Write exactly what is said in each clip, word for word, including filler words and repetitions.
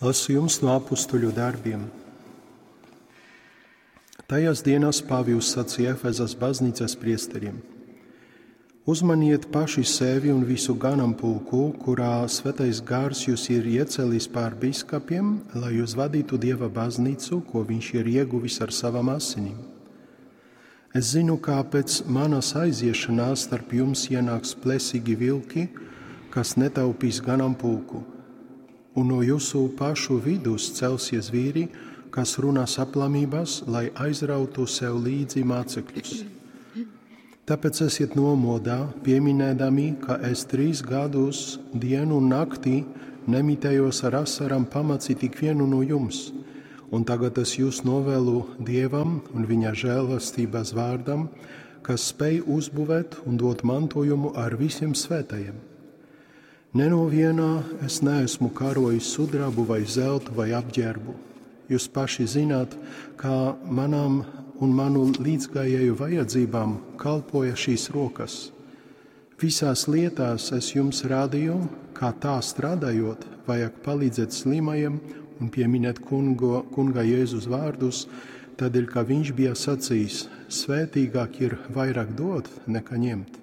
Lasījums no apustuļu darbiem. Tajās dienās Pāvils sacīja Efezas baznīcas priesteriem: Uzmaniet paši sevi un visu ganāmpulku, kurā Svētais Gars jūs ir iecēlis pār biskupiem, lai jūs vadītu Dieva baznīcu, ko viņš ir ieguvis ar savām asinīm. Es zinu, kā pēc manas aiziešanās starp jums ienāks plesīgi vilki, kas netaupīs ganāmpulku. Un no jūsu pašu vidus celsies vīri, kas runās aplamības, lai aizrautu sev līdzi mācekļus. Tāpēc esiet nomodā, pieminēdami, ka es trīs gadus dienu un naktī nemitējos ar asarām pamācīt ikvienu no jums. Un tagad es jūs novēlu Dievam un viņa žēlastības vārdam, kas spēj uzbūvēt un dot mantojumu ar visiem svētajiem. Ne no vienā es neesmu karojis sudrabu vai zeltu vai apģērbu. Jūs paši zināt, kā manām un manu līdzgājēju vajadzībām kalpoja šīs rokas. Visās lietās es jums rādīju, kā tā strādājot, vajag palīdzēt slimajiem un pieminēt kungo, kunga Jēzus vārdus, tādēļ, ka viņš bija sacījis, svētīgāk ir vairāk dot nekā ņemt.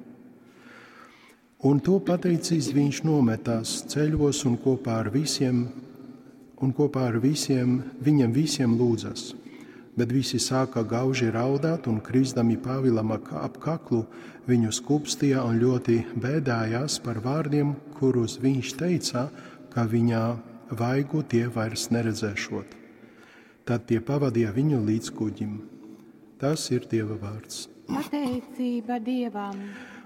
Un to pateicis, viņš nometās ceļos un kopā ar visiem, un kopā ar visiem, viņiem visiem lūdzas. Bet visi sāka gauži raudāt un krizdami Pāvilam ap kaklu, viņu skupstīja un ļoti bēdājās par vārdiem, kurus viņš teica, ka viņa vaigu tie vairs neredzēšot. Tad tie pavadīja viņu līdz kuģim. Tas ir Dieva vārds. Pateicība Dievam!